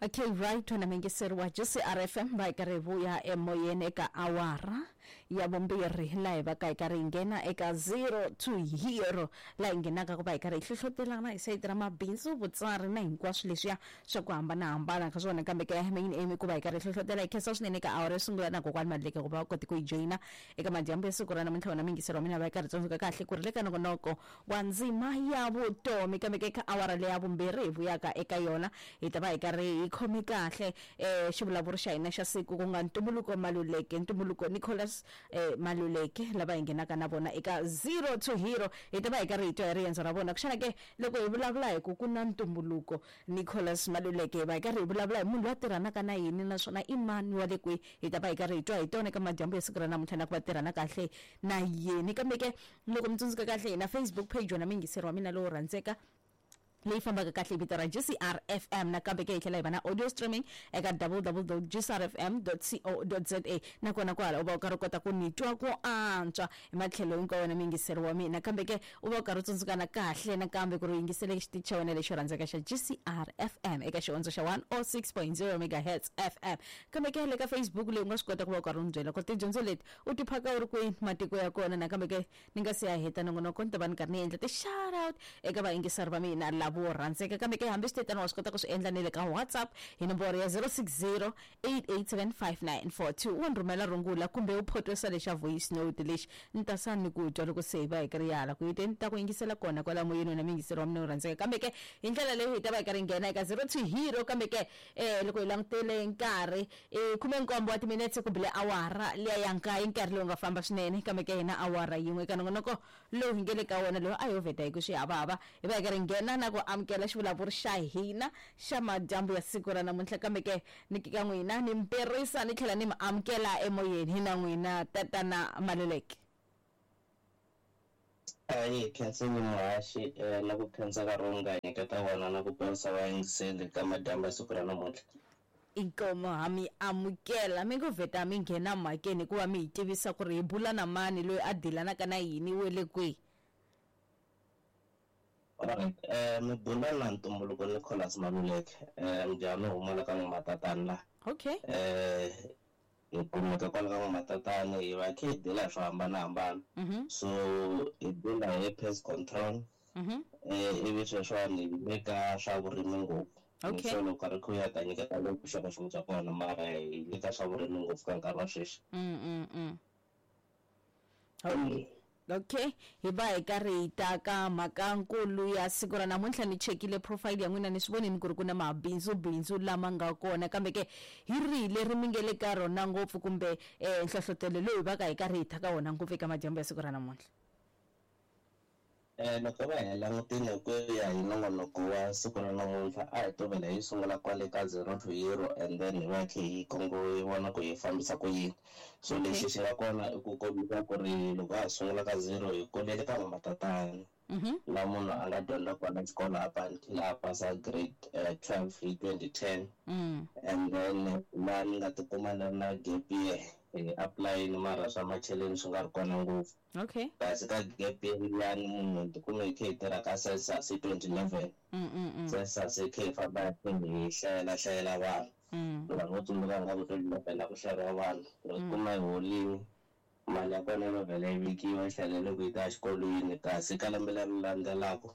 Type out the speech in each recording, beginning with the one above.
Okay, right, wena muyingiseri wa GCR FM, va hi karhi hi vuya emoyeni eka awara ya vumbirhi, laha hi va ka hi karhi hi nghena eka zero to hero, laha hi nghenaka ku va hi karhi hi hlohlotelana hi sayiti ra mabindzu, vutsari na hinkwaswo leswiya swa ku hambanahambana ka swona. Kambe ke main aim i ku va hi karhi hi hlohlotela. Hi khensa swinene eka awara yo sungula na kokwani Madleke ku va va kote ku hi joyina eka madyambu ya siku ra namuntlha. Wena muyingiseri wa mina, va hi karhi tsundzuka kahle ku ri le ka nongonoko wa ndzima ya vutomi. Kambe ke eka awara leya vumbirhi hi vuyaka eka yona, hi ta va hi karhi hi khome kahle xivulavuri xa hina xa siku, ku nga Ntumbuluko Maluleke, Ntumbuluko Nicholas Maluleke, lava hi nghenaka na vona eka Zero to Hero. Hi ta va hi karhi hi twa hi riendzo ra vona. Xana ke loko hi vulavula hi ku ku na Ntumbuluko Nicholas Maluleke, hi va hi karhi hi vulavula hi munhu loyi a tirhanaka na yini, naswona i mani, wa le kwihi? Hi ta va hi karhi hi twa hi tona eka madyambu ya siku ra namuntlha, na ku va tirhana kahle na yini. Kambe ke loko mi tsundzuka kahle, hi na Facebook page, wena muyingiseri wa mina lowo rhandzeka, leyi fambaka kahle hi vito ra GCR FM. Nakambe ke hi tlhela hi va na audio streaming eka www.gcrfm.co.za, nakona kwahala u va u karhi u kota ku ni twa ku antswa hi matlhelo hinkwawo, wena muyingiseri wa mina. Kambe ke u va u karhi u tsundzukana kahle nakambe ku ri u yingisele xitichi xa wena lexo rhandzeka xa GCR FM eka xihondzo xa 106.0 megahertz FM. Kambe ke le ka Facebook leyi, u nga swi kota ku va u karhi u ni byela ku ri tidyondzo leti u ti phaka u ri kwini, matiko ya kona. Nakambe ke ni nga se ya heta nongonoko, ni ta va ni karhi ni endla ti-shout out eka vayingiseri va mina lavo rhandzeka. Kambe ke hambi swi tetano, wa swi kota ku swi endla ni le ka WhatsApp hi nomboro ya 060 887 5942. U ni rhumela rungula kumbe u photwesa lexa voice note lexi, ni ta sa ni ku twa loko se hi va hi karhi hala ku yiteni, ta ku yingisela kona kwala moyeni, wena muyingiseri wa mina wo rhandzeka. Kambe ke hi ndlela leyi hi ta va hi karhi hi nghena eka zero to hero. Kambe ke loko hi langutele nkarhi, i 17 wa timinetse ku bile awara liya ya nkaye, nkarhi lowu nga famba swinene. Kambe ke hina awara yin'we eka nongonoko lowu hi nge le ka wona lowu a yo vheta hi ku swihavahava, hi va hi karhi nghena na ku amukela xivulavuri xa hina xa madyambu ya siku ra namuntlha. Kambe ke ni ka n'wina ni mperisa ni tlhela ni mi amukela emoyeni hi na n'wina, tatana Maluleke. Ahi khenseni muhaxi na ku khensa nkarhi lowu nga hi nyiketa wona na ku ponisa vayingiseli ka madyambu ya siku ra namuntlha. Inkomu, ha mi amukela. Mi ngo vheta mi nghena mhakeni hikuva mi hi tivisa ku ri hi bula na mani, loyi a dilanaka na yini, we le kwihi. Alright, mi bula na Ntumbuluko Nicholas Maluleke, mujahani wo huma la ka N'wamatatani la. Okay. Hi kumeka kwala ka N'wamatatani, hi va hi kha hi dila hi swo hambanahambana. So hi dila hi pest control, ivi sweswiwani hi le ka swa vurimi ngopfu. Okay. So loko nkarhi kha wu ya ta nyiketa vuxokoxoko bya kona, mara hi le ka swa vurimi ngopfu ka nkarhi wa sweswi. Okay, hi va hi karhi hi ta ka mhaka nkulu ya siku ra namuntlha. Ni chekile profile ya n'wina, ni swi vonini ku ri ku na mabindzu bindzu lama nga kona. Kambe ke hi rihi leri mi nge le ka rona ngopfu, kumbe nhlohlotelo lowu hi va ka hi karhi hi ta ka wona ngopfu eka madyambu ya siku ra namuntlha? Loko va hi langutile ku ya hi nongonoko wa siku ra namuntlha, a hi to vhela hi sungula kwale ka zero to hero, and then hi va khe hi hi vona ku hi fambisa ku yini. So lexi xi nga kona i ku kombisa ku ri loko a ha sungula ka zero, hi kulele ka N'wamatatani, laha munhu a nga dyondza kona xikolo up until a pasa grade 12 hi 2010, and then laha ni nga tikuma ni ri na gap year, hi apulayini mara swa macheleni swi nga ri kona ngopfu. Okay. Kasi ka gap year liyani, munhu ni tikume hi kha hi tirha ka census hi 2011. Census hi kha hi famba hi kha hi hlayela hlayela vanhu. Vanhu vo tsundzuka nga ku 2011 a ku hlayeriwa vanhu. Loko kuma hi holini, mali ya kona yi va vhela yi vekiwa, yi hlalele ku yi ta exikolweni. Kasi ka lembe leri landzelaka,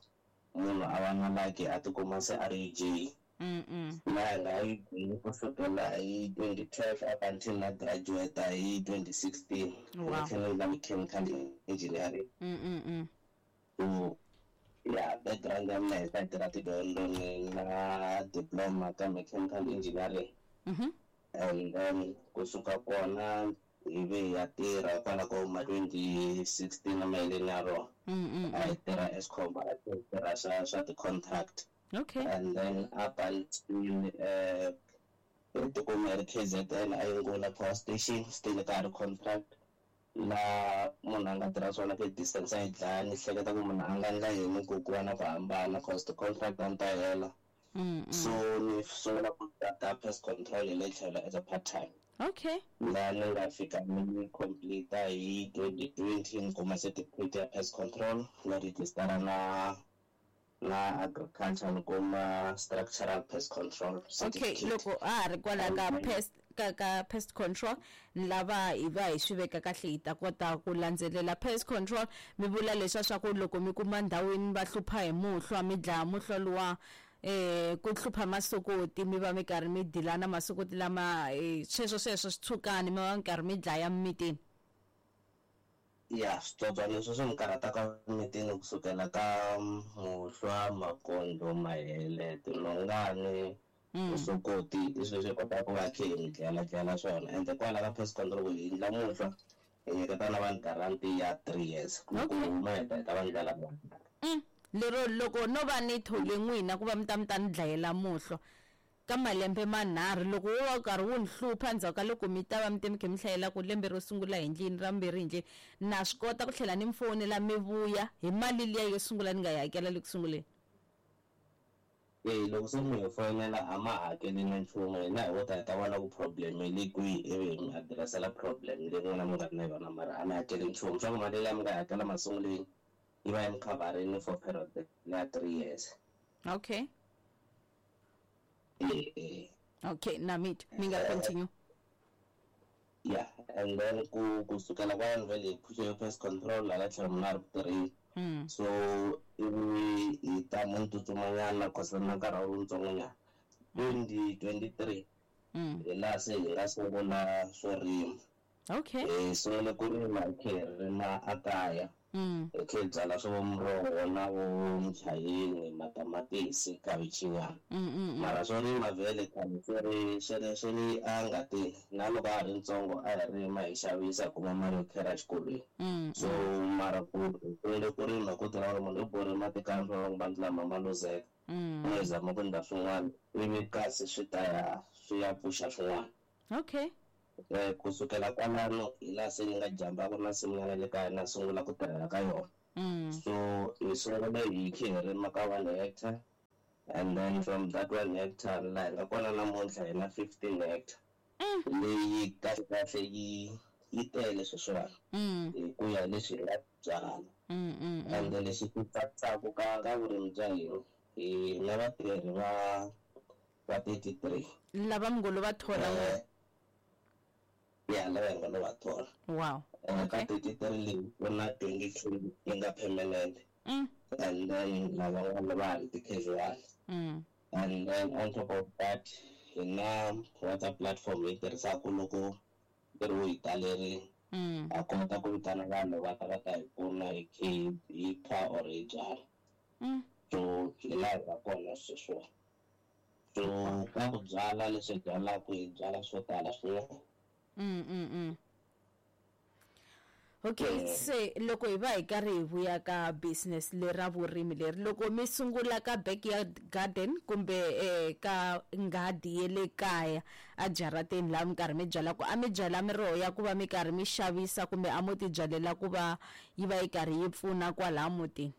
munhu a va na lucky, a tikuma se a ri UJ. Laha hi nga UJ kusukela hi 2012 up until na graduate hi 2016. Wow. Ni tlhela ni mechanical engineering. So yeah, background ya mina hi side ra tidyondzo, ni na diploma ka mechanical engineering. And then kusuka kona hi ve hi ya tirha kwala ko ma 2016 maheleni ya rona. A hi tirha Eskom, a hi tirha swa ti-contract. Okay. And then up until hi tikuma hi ri KZN, a Yingula Power Station, still ka ha ri contract, laha munhu a nga tirha swona ku distance a yi dlaya. Ni hleketa ku munhu a nga endla yini ku ku va na ku hambana, cause ti-contract a ni ta hela. So ni sungula ku ta pest control hi le tlhelo as a part time. Okay. Laha ni nga fika ni complete hi 2020, ni kuma certificate ya pest control, ni registera na Na agriculture ni kuma structural pest control Okay. certificate. Loko a ha ri kwala ka pest, ka pest control, ni lava hi va hi swi veka kahle, hi ta kota ku landzelela. Pest control, mi vula leswa swa ku loko mi kuma ndhawini va hlupha hi muhlwa, mi dlaya muhlwa luwa, ku hlupha masokoti, mi va mi karhi mi dilana masokoti lama, sweswo sweswo switshukani, mi va mi karhi mi dlaya mimitini. Ya, switsotswana leswi swi ni karhataka mitini kusukela ka muhlwa, makondlo, mahele, tinhongani, vusokoti, i swilo leswi hi kotaka ku va khe hi mi dlayela dlayela swona. Ende kwala ka pest control hi endla muhlwa, hi nyiketa na vanhu guarantee ya 3 years, loko huma hi ta va ndlela. Lero loko no va ni thole n'wina ku va mi ta ni dlayela muhlwa ka malembe manharhu, loko wo va karhi wu ni hlupha endzhaku ka loko mi ta va mi te mi khe mi hlayela ku lembe ro sungula hi ndlini, ra vumbirhi hi ndlini, na swi kota ku tlhela ni mi fonela mi vuya hi mali liya yo sungula ni nga yi hakela le ku sunguleni? Eya, loko se mi hi fonela a ma hakeli na nchumu. Hina hi wo ta hi ta vona ku problem yi le kwihi, ivi hi mi address-ela problem leyi n'wina mi nga ri na yona, mara a mi hakeli nchumu. Swa ku mali liya mi nga yi hakela masunguleni yi va yi mi cover-ini for period ya 3 years. Okay. E. Okay, na mi twa, mi nga continue. Yeah, and then ku kusukela kwalano vhele hi phuxe pest control, hala tlhelo munhu a ri ku tirheni. So ivi hi ta mu ni tsutsumanyana, cause na nkarhi a wu ri wutsongonyana, 2023, hi laha se hi nga sungula swo rima. Hi sungule ku rima, hi khe hi rima a kaya, hi khe hi byala swo muroho na vo muchayeni, matamatisi, khavichinyana. Mara swo rima vhele khale swi ri a ngatini, na loko a ha ri ntsongo a hi rima, hi xavisa, hi kuma mali yo khera exikolweni. So mara ku hi sungule ku rima ku tirha ku ri munhu i borhe mati kaya, vanhu lama ma luzeka, hi zama ku endla swin'wana, ivi kasi swi ta ya swi ya pfuxa swin'wana. Kusukela kwalano hi laha se ni nga jambaka na nsimu le kaya, na sungula ku tirhela ka yona. So hi sungule hi khe hi rima ka 1 hectare, and then from that 1 hectare laha hi nga kona namuntlha hi na 15 hectare, leyi kahle kahle yi tele sweswiwani, hi ku ya hi leswi hi nga byala. Ende lexi xi tsakisaka ka vurimi bya hina, hi na vatirhi va 33. Lava mi ngo lo va thola n'wina? Ya, lava hi nga lo va thola. Ka 33 leyi ku na 22 yi nga permanent, and then lavan'wana va ha ri ti-casual. And then on top of that, hi na WhatsApp platform hi tirhisaka loko ntirho wu hi talerile. Ha kota ku vitana vanhu va ta va ta hi pfuna, hi khe hi kha or hi byala. So hi laha hi nga kona sweswiwani. So ka ku byala, leswi hi byalaka, hi byala swo tala swinene. Okay, se loko hi va hi karhi hi vuya ka business lera vurimi leri, loko mi sungula ka backyard garden kumbe ka nghadi ya le kaya a jarateni, laha mi karhi mi byala, ku a mi byala miroho ya ku va mi karhi mi xavisa, kumbe a mo ti byalela ku va yi va yi karhi yi pfuna kwalaha mutini?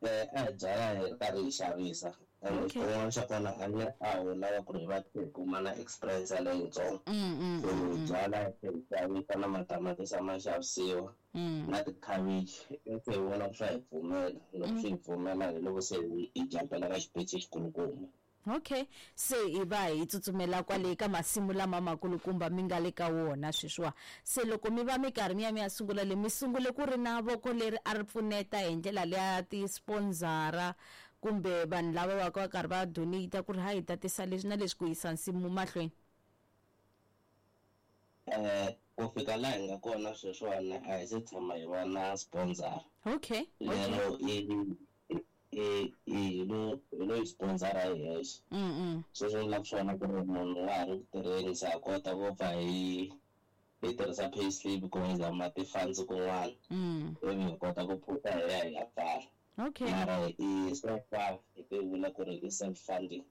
A hi byala hi ri karhi hi xavisa, ende xin'wana xa kona a ni a ho lava ku ri hi va hi kuma na experience leyitsongo. So hi byala hi xavisa, na matamatisi ma xavisiwa, na tikhavichi. Se hi vona ku swa hi pfumela, loko swi hi pfumela hi loko se hi jampela ka xipeci xikulukumba. Okay, se hi va hi tsutsumela kwale ka masimu lama makulukumba mi nga le ka wona sweswiwa. Se loko mi va mi karhi mi ya sungula le, mi sungule ku ri na voko leri a ri pfuneta hi ndlela leya ti-sponsor-a kumbe vanhu lava va ka va karhi va donate ku ri ha hi tatisa leswi na leswi ku yisa nsimu mahlweni? Ku fika laha hi nga kona sweswiwani, a hi se tshama hi va na sponsor. Lero i hi lo yi sponsor-a hi hexe. Sweswo vulaka swona ku ri munhu wa ha ri ku tirheni, se ha kota ku pfa hi tirhisa pay slip ku hi zama ti-funds kun'wana, ivi hi kota ku phuta hi ya hi ya pfala. Mara i so far hi ti vula ku ri i self funding,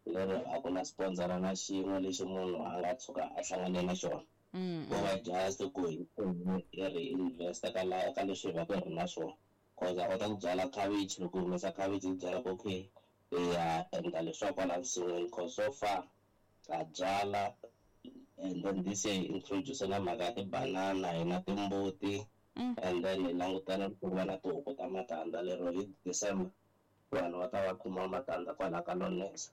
lero a ku na sponsor na xin'we lexi munhu a nga tshuka a hlangane na xona. Ko va just ku hi hi reinvest ka la ka leswi hi va ku hi ri na swona, cause a kota ku byala cabbage, loko hi humesa cabbage hi byala ku okay, hi ya endla leswaku kwala nsin'wini, cause so far ha byala. And then this year hi introduce na mhaka ya tibanana, hi na timbuti. And then hi langutana ku va na tihuku ta matandza, lero hi December vanhu va ta va kuma matandza kwalaho ka Lonesa.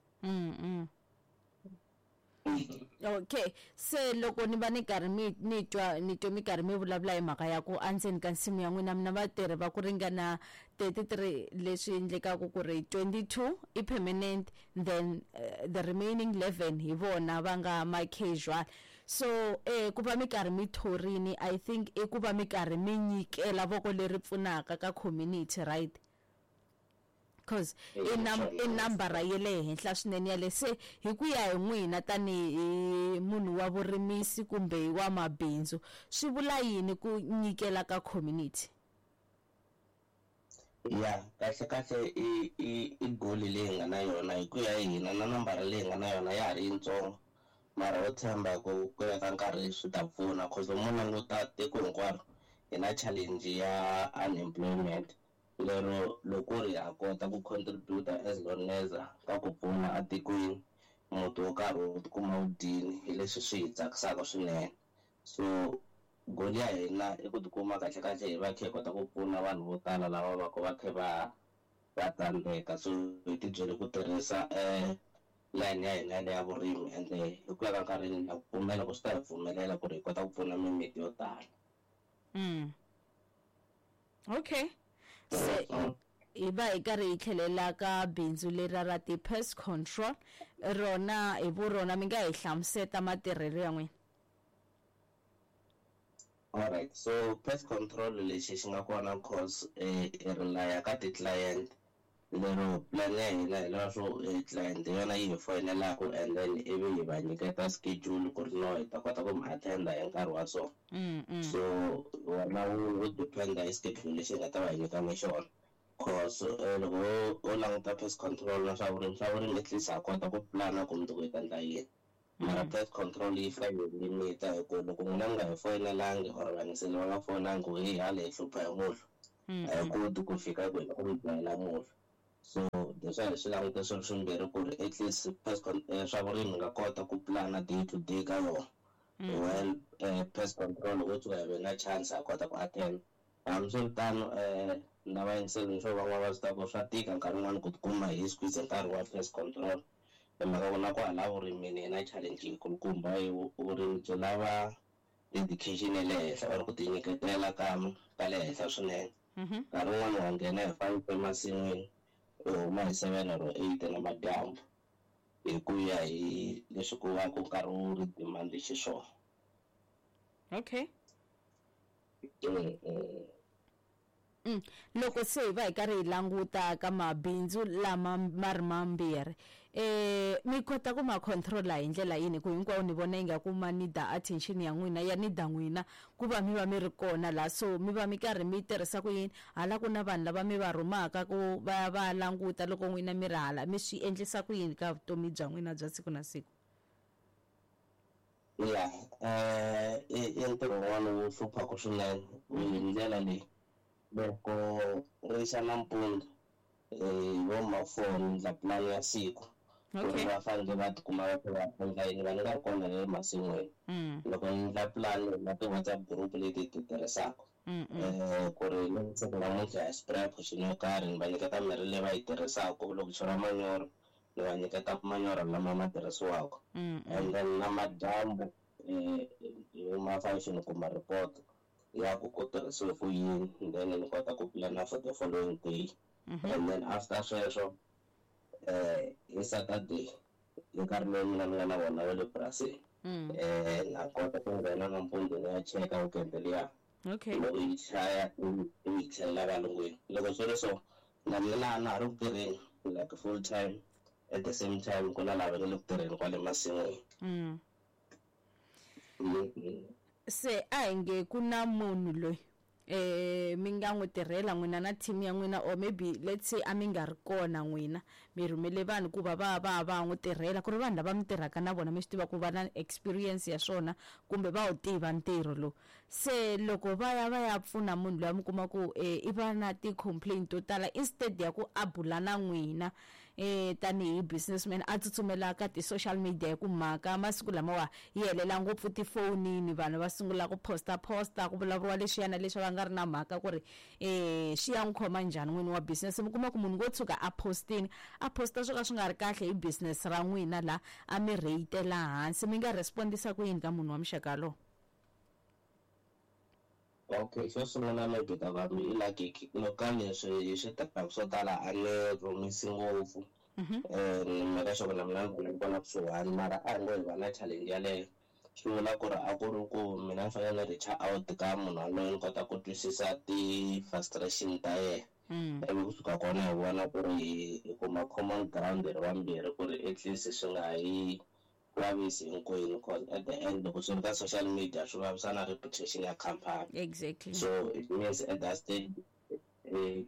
Okay, se loko ni va ni karhi ni twa ni twa mi karhi mi vulavula hi mhaka ya ku endzeni ka nsimu ya n'wina mi na vatirhi va ku ringana 33, leswi endlekaka ku ri 22 i permanent, then the remaining 11 hi vona va nga ma casual. So ku va mi karhi mi thorini, I think i ku va mi karhi mi nyikela voko leri pfunaka ka community, right? Because i nambara ya le henhla swinene yale. Se hi ku ya hi n'wina tanihi munhu wa vurimisi kumbe wa mabindzu, swi vula yini ku nyikela ka community? Ya kahle kahle i goal leyi nga na yona hi ku ya hi hina, na nambara leyi nga na yona ya ha ri yitsongo, mara ho tshemba ku ya ka nkarhi swi ta pfuna, cause mo languta tiko hinkwaro hi na challenge ya unemployment. Lero loko ri ha kota ku contribute as Loneza ka ku pfuna atikweni, muti wo karhi wu tikuma wu dyini, hi leswi swi hi tsakisaka swinene. So goal ya hina i ku tikuma kahle kahle hi va kha hi kota ku pfuna vanhu vo tala lava va ku va kha va tsandzeka. So hi tibyele ku tirhisa line ya hina ya vurimi, ende hi ku ya ka nkarhi na ku pfumela ku swi ta hi pfumelela ku ri hi kota ku pfuna mimiti yo tala. Okay, se hi va hi karhi hi tlhelela ka bindzu leri ra ti-pest control, rona hi vurona mi nga hi hlamuseta matirhelo ya n'wina? Alright, so pest control lexi xi nga kona, cause hi relaya ka ti-client, lero plan ya hina hi leswo client yona yi hi foyinelaka, and then ivi hi va nyiketa schedule ku ri no hi ta kota ku mi attenda hi nkarhi wa so. So wona wu dependa hi schedule lexi hi nga ta va hi nyikana xona, cause loko u languta pest control na swa vurimi, swa vurimi at least ha kota ku plana ku mundzuku hi ta endla yini, mara pest control yi fika yi limita, hi ku loko n'wina mi nga hi foyinelangi or vayingiseli va nga foyinangi ku hi hala hi hlupha hi muhlo, a hi koti ku fika ku hi ku mi dlayela muhlo. So that's why hi swi languta swilo swimbirhi, ku ri at least pest swa vurimi nga kota ku plana day to day ka yona, well pest control wo tshuka hi ve na chance ha kota ku attend. Hambiswiritano na vayingiseli swo van'wana va swi tiva ku swa tika nkarhi wun'wani ku tikuma hi squeeze nkarhi wa pest control, hi mhaka ku na kwala vurimini hi na challenge yikulukumba. Hi vurimi byi lava dedication ya le henhla or ku tinyiketela ka le henhla swinene. Nkarhi wun'wani wa nghena hi 5 emasin'wini, u huma hi 7 or 8 namadyambu, hi ku ya hi leswi ku va ku nkarhi wu ri demand xiswona. Okay. Loko se hi va hi karhi hi languta ka mabindzu lama ma ri mambirhi, mi kota ku ma controla hi ndlela yini, ku hinkwawo ni vona ingaku ma need attention ya n'wina, ya need n'wina ku va mi va mi ri kona la? So mi va mi karhi mi tirhisa ku yini? Hala ku na vanhu lava mi va rhumaka ku va ya va languta loko n'wina mi ri hala, mi swi endlisa ku yini ka vutomi bya n'wina bya siku na siku? Ya, i ntirho wun'wana wu hluphaka swinene hi ndlela leyi. Loko ri xa nampundzu vo ma 4 ni endla plan ya siku ku ri va fanele va tikuma va kha va endla yini, va ni nga ri kona le masin'wini. Loko ni endla plan na ti-WhatsApp group leti hi ti tirhisaka, ku ri siku namuntlha hi spray potion yo karhi, ni va nyiketa mirhi leyi va yi tirhisaka, loko chela manyoro ni va nyiketa manyoro lama ma tirhisiwaka. And then na madyambu hi huma 5 ni kuma report ya ku ku tirhisiwe ku yini, then ni kota ku plana for the following day. And then after sweswo hi Saturday hi nkarhi lowu mina ni nga na vona wa le purasini, na kota ku nghena nampundzu ni ya cheka weekend liya. Loko yi chaya yi tlhelela valungwini. Loko swi ri so, na mina na ha ri ku tirheni like full time, at the same time ku na lava nga le ku tirheni kwale masin'wini. Se a hi nge ku na munhu loyi mi nga n'wi tirhela n'wina na team ya n'wina, or maybe let's say a mi nga ri kona n'wina, mi rhumele vanhu ku va va va va n'wi tirhela, ku ri vanhu lava mi tirhaka na vona mi swi tiva ku va na experience ya swona kumbe va wu tiva ntirho lowu. Se loko va ya va ya pfuna munhu loyi, mi kuma ku i va na ti-complaint to tala, instead ya ku a bula na n'wina, tanihi businessman a tsutsumela ka ti-social media hi ku mhaka masiku lamawa yi helela ngopfu tifonini, vanhu va sungula ku posta ku vulavuriwa leswiya na leswi va nga ri na mhaka ku ri swi ya n'wi khoma njhani n'wini wa business. Mi kuma ku munhu wo tshuka a postini, a posta swo ka swi nga ri kahle hi business ra n'wina la a mi reyitela hansi, mi nga respondisa ku yini ka munhu wa muxaka lowu? Okay, xo sungula maybe ta va mi like loko leswi hi swi tirhaka swo tala a ni rhumisi ngopfu. Ni mhaka xo na mina ni vona kusuhani, mara a hi ngo hi va na challenge yaleyo, swi vula ku ri a ku ri ku mina ni fanele ni reach out ka munhu yaloye ni kota ku twisisa ti-frustration ta yena. Ivi kusuka kona hi vona ku ri hi kuma common ground hi ri vambirhi ku ri at least swi nga hi vavisi hinkwenu, cause at the end loko swi ri ka social media swi vavisa na reputation ya company. Exactly. So it means at that stage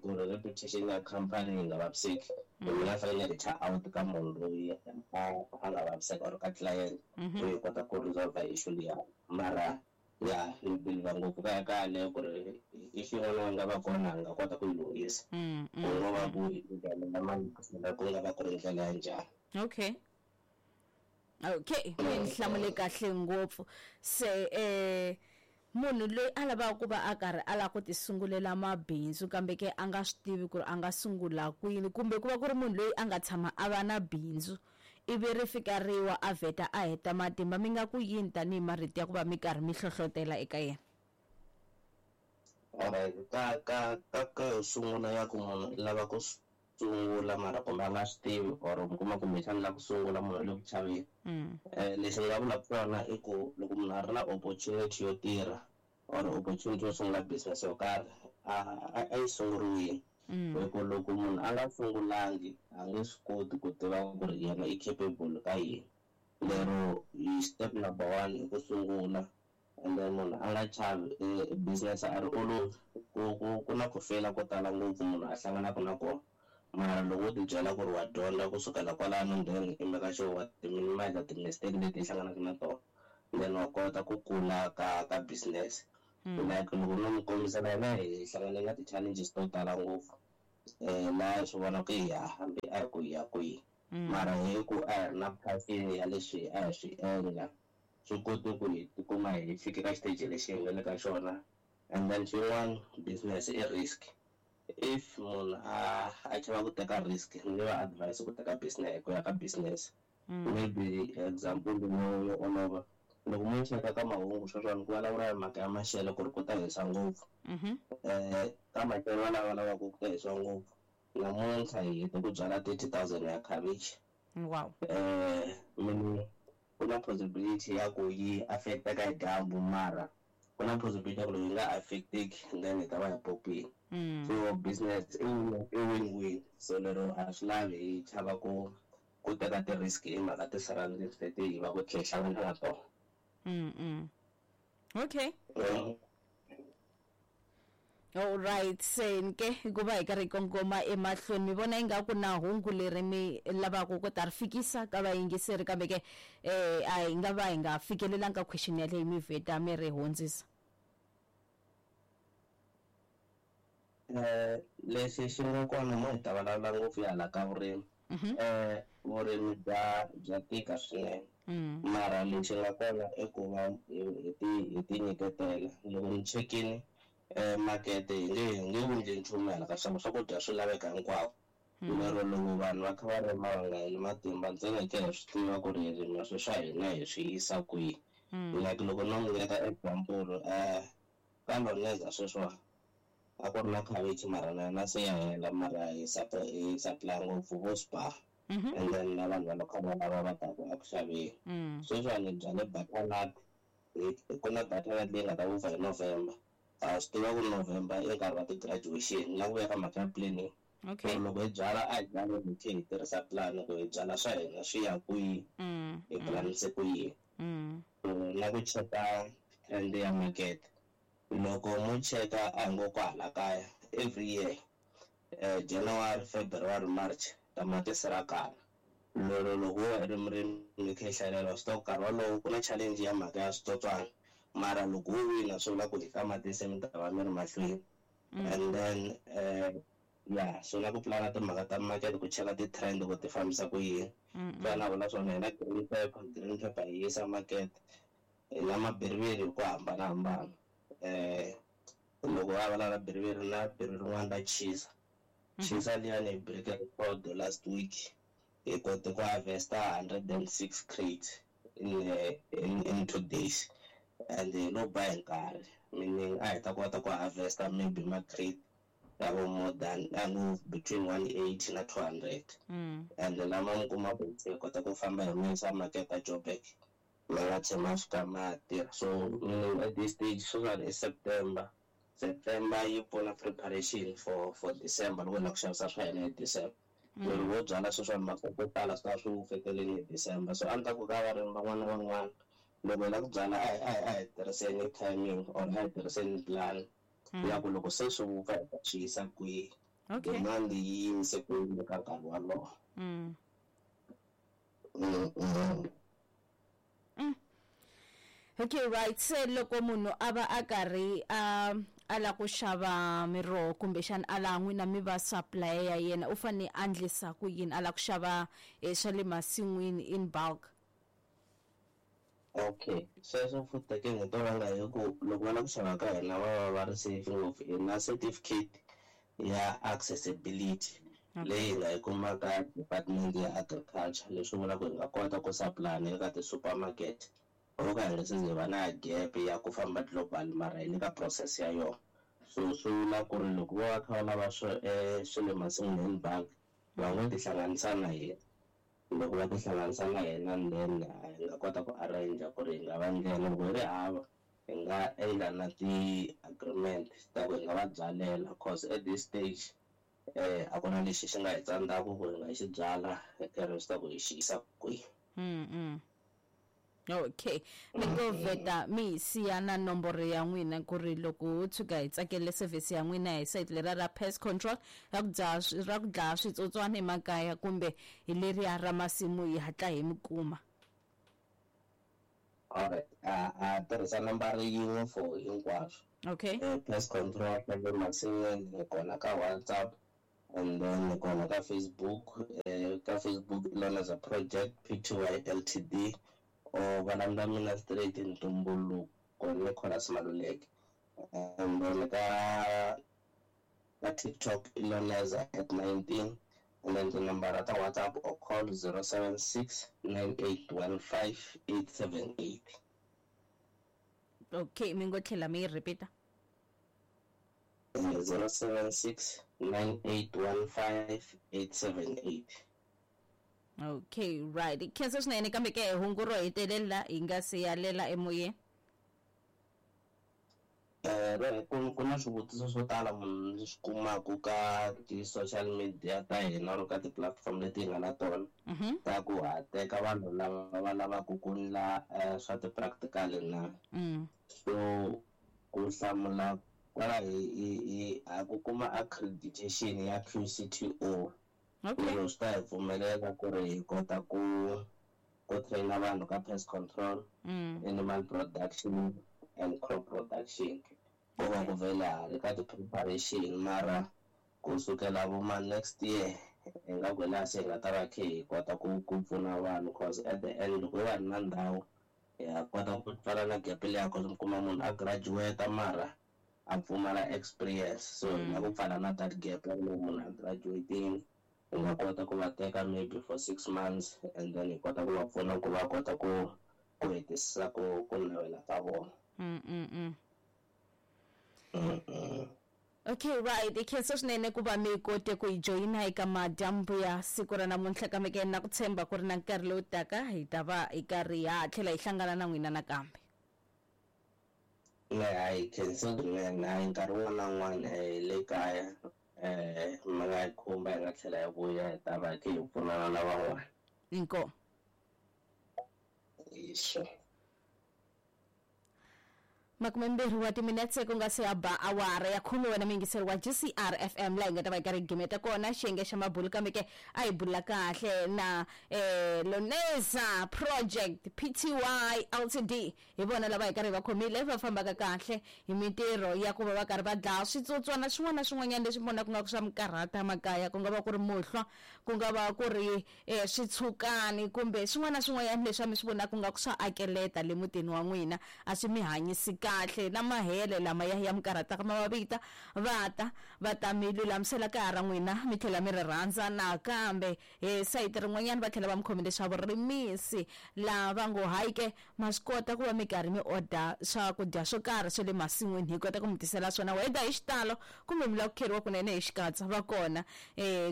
ku ri reputation ya company yi nga vaviseki, mina fanele ni reach out ka munhu loyi a nga vaviseka or ka client ku hi kota ku resolve issue liya. Mara ya ni believe ngopfu ka ka yaleyo ku ri issue yin'wana yi nga va kona hi nga kota ku yi lunghisa, ku nga va ku ndlela ku nga va ku ri ndlela ya njhani. Okay, mi hlamule kahle ngopfu. Se munhu loyi a lavaka ku va a karhi a lava ku ti sungulela mabindzu kambe ke a nga swi tivi ku ri a nga sungula kwini, kumbe ku va ku ri munhu loyi a nga tshama a va na bindzu ivi ri fika riwa a vheta a heta matimba, mi nga ku yini tanihi marito ya ku va mi karhi mi hlohlotela eka yena? Alright, ka ka ka ka sungula ya ku munhu lava ku sungula mara kumbe a nga swi tivi or mi kuma kumbexana la ku sungula munhu le ku chaveni, lexi ni nga vulaka swona i ku loko munhu a ri na opportunity yo tirha or opportunity yo sungula business yo karhi, a yi sunguriwile. Hi ku loko munhu a nga sungulangi a nge swi koti ku tiva ku ri yena i capable ka yini. Lero hi step number 1 i ku sungula, and then munhu a nga chavi business a ri olovi, ku na ku feyila ko tala ngopfu munhu a hlanganaka na kona. Mara loko u ti byela ku ri wa dyondza kusukela kwalano, then i meka sure wa ti-minimize ti-mistake leti i hlanganaka na tona, then wa kota ku kula ka business. Like loko no mi kombisela yena hi hlangane na ti-challenges to tala ngopfu, laha hi swi vona ku ya hambi a hi ku ya kwihi, mara hi ku a hi ri na passion ya leswi a hi swi endla, swi kote ku hi tikuma hi fike ka xiteji lexi hi nga le ka xona. And then xin'wana, business i risk. If munhu a chava ku teka risk, ni nge va advise ku teka business ku ya ka business. Maybe example yo olova, loko mo cheka ka mahungu sweswiwani ku vulavula hi mhaka ya maxelo ku ri ku ta hisa ngopfu, ka maxelo lava lavaka ku ta hisa ngopfu, namuntlha hi hete ku byala 30,000 ya cabbage. Wow. Meaning ku na possibility ya ku yi affecteka hi dyambu, mara ku na possibility ya ku loko yi nga affecteki then hi ta va hi popile. So business i win-win. So lero a swi lavi hi chava ku teka ti-risk hi mhaka ti-surroundings leti hi va ku tlhe hi hlangana na tona. Okay. All right, se hikuva hi karhi hi kongoma emahlweni, mi vona ingaku na hungu leri mi lavaka ku ta ri fikisa ka vayingiseri, kambe ke a hi nga va hi nga fikelelanga ka question yaleyo mi vheta mi ri hundzisa? Lexi xi nga kona mo hi ta vulavula ngopfu ya hala ka vurimi. Vurimi bya tika swinene, mara lexi nga kona i ku va hi ti nyiketela. Loko ni chekini makete hi nge wundli nchumu hala ka swakudya swi laveka hinkwako. Lero loko vanhu va kha va rima va nga heli matimba, ntsena hi tlhela hi swi tiva ku ri hi rima swi swa hina hi swi yisa kwihi. Like loko no n'wi nyika example, ka Loneza sweswiwa a ku ri na khavichi mara na yona se ya hela, mara hi supply ngopfu vo Spar, and then na vanhu va local lava va taku eku xaveni. Sweswiwani byale butternut, ku na butternut leyi nga ta vupfa hi November. A swi tiva ku November i nkarhi wa ti-graduation, na ku vuya ka mhaka ya planning. Okay. Loko hi byala a hi byali hi tlhe hi tirhisa plan ku hi byala swa hina swi ya kwihi, hi planise ku yini. Na ku cheka trend ya market. Loko mo cheka a hi ngo kwahala kaya every year, January, February, March tamatisi ra kala. Lero loko wo ri murimi mi kha hi hlayelela swi tiva ku nkarhi wolowo ku na challenge ya mhaka ya switsotswana, mara loko wo wina swi vula ku hi tamatisi mi ta va mi ri mahlweni. And then Ya, so na ku pulana timhaka ta market, ku cheka ti-trend ku ti fambisa ku yini. Fana vula swona, hi na green pepper. Green pepper hi yisa market, hi na mabiriviri hi ku hambanahambana. Loko va vulavula biriviri, na biriviri rin'wana ra chisa chisa liyani, hi break record last week. Hi kote ku harvesta 106 crates in 2 days, and hi lo ba hi nkarhi, meaning a hi ta kota ku harvesta maybe ma-crate ya vo more than a between 180 na 200. And lama mi kuma ku hi kota ku famba hi ma yisa market a Joburg, ma nga tshama ma fika ma tirha. So meaning at this stage sweswiwani i September. September yi pfuna preparation for December, loko hi lava ku xavisa swa hina hi December. Loko wo byala sweswiwani, masoko yo tala swi ta swi feteleni hi December. So a ni ta ku ka varimi van'wana na van'wana, loko hi lava ku byala, a hi tirhiseni timing or a hi tirhiseni plan ya ku loko se swi vupfa, hi ta swi yisa kwihi, demand yi yimise ku yini ka nkarhi wolowo. Okay, right. Se loko munhu a va a karhi a lava ku xava miroho, kumbexana a laha n'wina mi va supplier ya yena, u fane a endlisa ku yini a lava ku xava swa le masin'wini in bulk? Okay, sweswo futhi ke hi to vanga hi ku loko va lava ku xava ka hina, va va va ri safe ngopfu. Hi na certificate ya accessibility leyi hi nga yi kuma ka Department ya Agriculture, leswi vulaka ku hi nga kota ku supply na le ka ti-supermarket. Ho ka hi nga se ze hi va na gap ya ku famba global, mara hi le ka process ya yona. So swi vula ku ri loko vo va kha va lava swo swi le masin'wini in bulk, va ngo tihlanganisa na hina. Loko va tihlanganisa na hina, then hi nga kota ku arrange ku ri hi nga va ndlela. Loko hi ri hava, hi nga endla na ti-agreement ta ku hi nga va byalela, cause at this stage a ku na lexi xi nga hi tsandzaka ku hi nga xi byala, hi karhi swi ta ku hi xi yisa kwihi. Okay, mi ngo vheta mi hi siya na nomboro ya n'wina ku ri loko ho tshuka hi tsakele service ya n'wina hi site leriya ra pest control, ra ku dzaha ra ku dlaya switsotswana emakaya, kumbe hi leriya ra masimu, hi hatla hi mi kuma. Alright, a tirhisa nambara yin'we for hinkwaswo. Pest control swa le masin'wini, hi kona ka WhatsApp and then hi kona ka Facebook. Ka Facebook, Loneza Project Pty Ltd, or va landza mina straight, Ntumbuluko Nicholas Maluleke. And then ka TikTok i Loneza at 19, and then tinambara ta WhatsApp or call 076 9815 878. Okay, mi ngo tlhela mi yi repeat-a. 076 9815 878. Okay, right, khensa swinene. Kambe ke hungu ro hetelela hi nga si yalela emoyeni? Ku na swivutiso swo tala munhu ndzi swi kumaku ka ti-social media ta hina or ka ti-platform leti hi nga na tona, ta ku ha teka vanhu lava va lavaka ku ndla swa ti-practical na. So ku hlamula kwala, hi ha ku kuma accreditation ya QCTO. Lero swi ta hi pfumelela ku ri hi kota ku traina vanhu ka pest control, animal production and crop production. Ko va ku vhele ha ri ka ti-preparation, mara ku sukela vo ma next year, hi nga ku laha se hi nga ta va khe hi kota ku pfuna vanhu, cause at the end loko hi va ri na ndhawu, hi ya kota ku pfala na gap liya, cause mi kuma munhu a graduate mara a pfumala experience. So hi nga ku pfala na that gap ya loko munhu a graduatini, hi nga kota ku va teka maybe for 6 months and then hi kota ku va pfuna ku va kota ku hetisisa ku navela ka vona. Okay, right, khensa swinene ku va mi kote ku hi joyina eka madyambu ya siku ra namuntlha. Kambe ke na ku tshemba ku ri na nkarhi lowu taka hi ta va hi karhi ha tlhela hi hlangana na n'wina nakambe. Ne, hayi, khensa swinene. Hayi, nkarhi wun'wana na wun'wana hi le kaya, mi nga hi khumba, hi nga tlhela hi vuya, hi ta va hi khe hi pfunana na van'wana. Inkomu. Hi sure. 20 wa timinetse ku nga se ya ba awara ya 10 wena muyingiseri wa GCR FM laha hi nga ta va hi karhi hi gimeta kona xiyenge xa mabulu kambe ke a hi bula kahle na Loneza Project Pty Ltd hi vona lava hi karhi hi va khomile va fambaka kahle hi mintirho ya ku va va karhi va dlaya switsotswana swin'wana na swin'wanyana leswi vonaka nga ku swa mikarhata makaya ku nga va ku ri muhlwa ku nga va ku ri switshukani kumbe swin'wana na swin'wanyana leswi mi swi vonaka nga ku swa akeleta le mutini wa n'wina a swi mi hanyisi kahle na mahele lama ya mi karhataka ma va vita va ta va ta mi lulamisela kaya ra n'wina mi tlhela mi ri rhandza nakambe hi sayiti rin'wanyana va tlhela va mi khomile swa vurimisi laha va ngo hayi ke ma swi kota ku va mi karhi mi order swakudya swo karhi swa le masin'wini hi kota ku mi tisela swona whether hi xitalo kumbe mi lava ku kheriwa kunene hi xikatsa va kona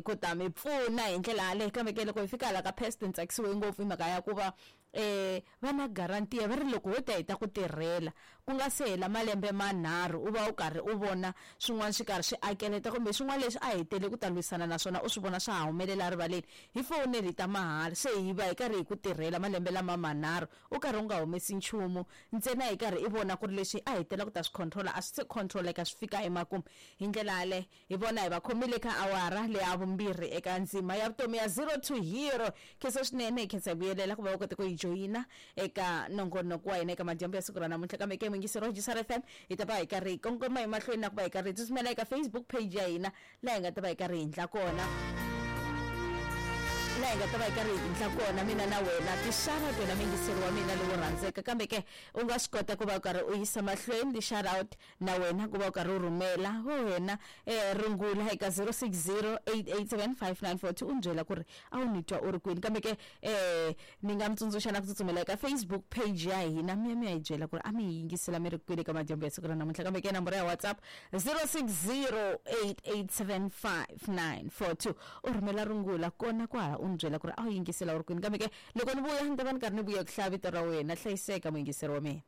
ku ta mi pfuna hi ndlela yaleyo kambe ke loko hi fika hala ka pest ni tsakisiwe ngopfu hi mhaka ya ku va va na guarantee va ri loko ho ta hi ta ku tirhela ku nga se hela malembe manharhu u va u karhi u vona swin'wana swi karhi swi akeleta kumbe swin'wana leswi a hetele ku ta lwisana na swona u swi vona swa ha humelela rivaleni hi foneli ta mahala se hi va hi karhi hi ku tirhela malembe lama manharhu u karhi u nga humesi nchumu ntsena hi karhi i vona ku ri leswi a hetela ku ta swi controla a swi se controleka swi fika emakumu hi ndlela yaleyo hi vona hi va khomile ka awara leya vumbirhi eka ndzima ya vutomi ya 0 to hero khensa swinene hi khensa hi vuyelela ku va u kote ku hi joyina eka nongonoko wa hina eka madyambu ya siku ra namuntlha kambe ke muyingiseri wa GCR FM hi ta va hi karhi hi kongoma emahlweni na ku va hi karhi hi tsutsumela eka Facebook page ya hina laha hi nga ta va hi karhi hi endla kona laha hi nga ta va hi karhi hi endla kona mina na wena ti-shout-out wena muyingiseri wa mina lowo rhandzeka kambe ke u nga swi kota ku va u karhi u yisa mahlweni ti-shout-out na wena ku va u karhi u rhumela wena rungula eka 0608875942 u ni byela ku ri a wu ni twa u ri kwini kambe ke ni nga mi tsundzuxa na ku tsutsumela eka Facebook page ya hina mi ya mi ya hi byela ku ri a mi hi yingisela mi ri kwini eka madyambu ya siku ra namuntlha kambe ke nomboro ya WhatsApp 0608875942 u rhumela rungula kona kwala u ni byela ku ri a wu yingisela u ri kwini kambe ke loko ni vuya ni ta va ni karhi ni vuya ku hlaya vito ra wena hlayiseka muyingiseri wa mina.